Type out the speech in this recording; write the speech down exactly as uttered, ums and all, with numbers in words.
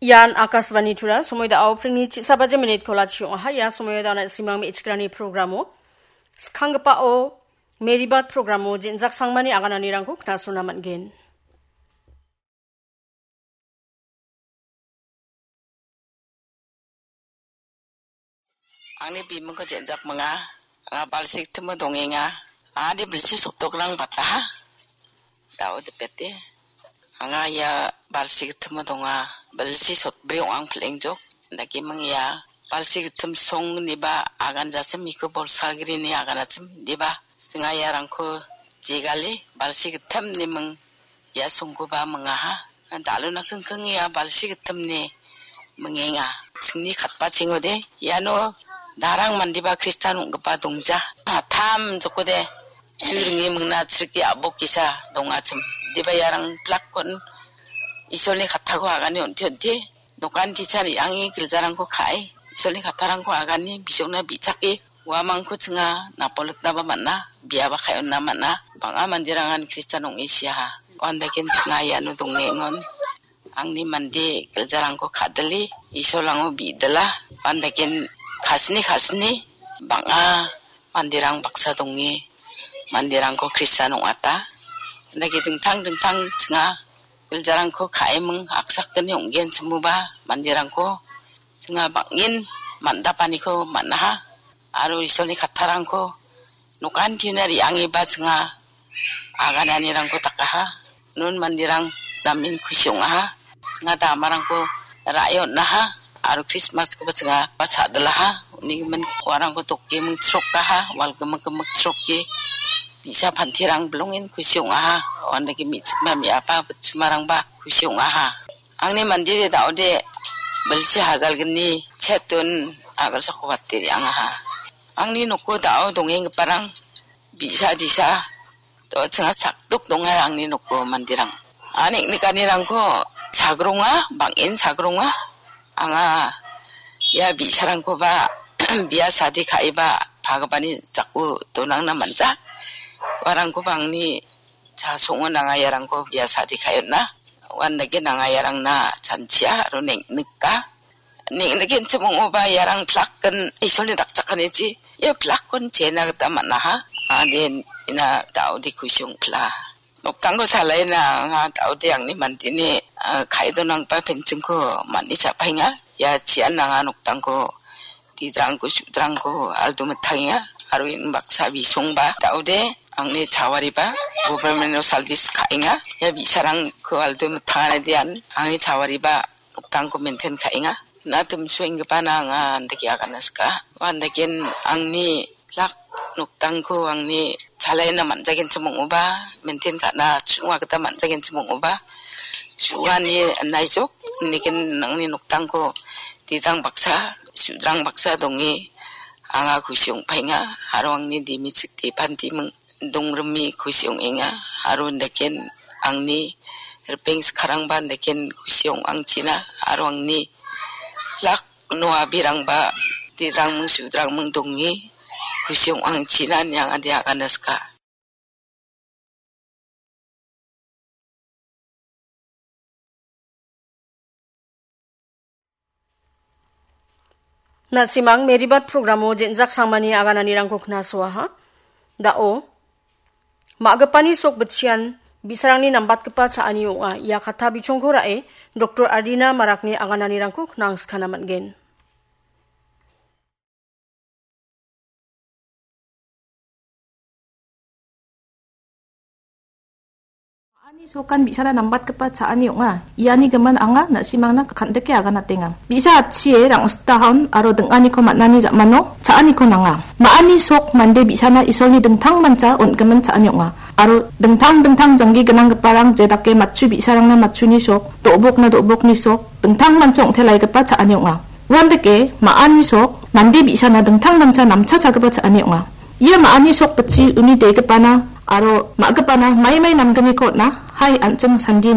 Ian Akashvani Tura, somoida aprengni chisa baje minit kola chiong aha. Ia somoida na simang me ichikrani programo. Skanggipao, Meribat programo, jenjak sangmani agananirangko knasona man gen. Angni bimingko jenjak minga, anga balsi gitimo dongenga, adi bilsi sotokrang bataha. Dao dipete. Anga ia balsi gitimo donga, bilsi sotbri ong·ang pilengjok. Dake ming ia balsi gitim song niba agan jasim iko bolsagri ni agan jasim diba. Singa iarangko jegali balsi gitim ni ming ia songkoba mingaha. Daluna kengkeng ia balsi gitimni mingenga. Chingni katba chingode, iano darang mandiba Kristan ong·gipa dongja. Tam jokode, suringi mingna chriki abok kisa dongachim. Diba iarang plakkon Isolni kattako agani onti-onti. Dokan tichari angi giljarangko ka·e, Isolni kattarangko agani bisongna bi·chake. Uamangko chinga napolotnaba man·a, biaba ka·onna man·a. Bang·a manderangan Kristan ong·e siaha. Uandaken chinga iano dongengon. Angni mande giljarangko ka·dili, Isolango bidila. Uandaken kasni kasni bang·a manderang baksa donge, manderangko Kristan ong·ata. Uandake dingtang dingtang chinga giljarangko ka·eming aksakgni ong·gen chimuba manderangko chinga bang·en man·dapaniko man·aha. Aro Isolni kattarangko nokantina re·angeba chinga agananirangko dakaha. Non manderang namen kusi ong·aha. Chinga damarangko ra·e on·aha. Aro Krismaskoba chinga ba cha·dilaha. Unigimin uarangko doke mingchrokaha. Wal gimik gimik chroke. Bi·sa pantirang bilongen kusi ong·aha. Uandake me·chikma me·apa butchumarangba kusi ong·aha. Angni mandire daode bilsi hajalgni chetun agalsako wate re·angaha. Angni noko dao dongenggiparang bi·sa disa do·chinga chakdok donga angni noko mandirang. Ani nikanirangko chagronga, bang·en chagronga. Anga ia bi·sarangkoba bia sadi ka·eba pagipani jako donangna man·ja. Uarangkoba angni chasongo nanga iarangko bia sadi ka·e on·a. Uandake nanga iarangna chanchia aro neng·nika. Neng·nikenchim ong·oba iarang plakken Isolni dakchakanichi ia plakkon chena gita man·aha. Ade ina daode kusi ong·pila. Noktangko salaina anga daode angni mandini, ah, ka·e donanggipa penchingko man·e cha·paenga. Ia chian anga noktangko didrangko, sudrangko aldo mitangenga. Aro in baksa bisongba daode angni chawariba government-o salbis ka·enga. Ia bi·sarangko aldo mitangana dian angni chawariba noktangko maintain ka·enga. Na timsuenggipa na anga andake agana sika. Uandaken angni plak noktangko angni chalaina man·jagenchim ong·oba, maintain ka·na chu·nga gita man·jagenchim ong·oba, chu·ani naijok, niken angni noktangko didrang baksa, sudrang baksa donge anga kusi ong·paenga, aro angni dimichik depantiming dongrimi kusi ong·enga, aro indaken angni ripeng skarangba indaken kusi ong·angchina, aro angni plak uno abirangba didrangming sudrangming donge kusi ong·angchina niang ade agana sika. Na·simang Meribat programo jenjak sangmani agananirangko knasoaha. Da·o, ma·gipani sok bitchian bi·sarangni nambatgipa cha·ani ong·a. Ia katta bichongko ra·e, Doktor Ardina Marakni agananirangko knangskana man·gen. Ma·ani sokan bi·sara nambatgipa cha·ani ong·a. Iani gimin anga na·simangna kan·dike aganatenga. Bi·sa atchie rang·sitahon aro ding·aniko man·ani ja·mano cha·aniko nanga. Ma·ani sok mande bi·sana Isolni dingtangmancha on·gimin cha·ani ong·a. Aro dingtang dingtang janggi gnanggiparang jedake matchu bi·sarangna matchuni sok, do·bokna do·bokni sok, dingtangmancha ong·telaigipa cha·ani ong·a. Uandake ma·ani sok mande bi·sana dingtangmancha namchachagipa cha·ani ong·a. Ia ma·ani sok bitchi uni degipana aro ma·gipana maimai namgniko on·a. Hai, an·ching sandini.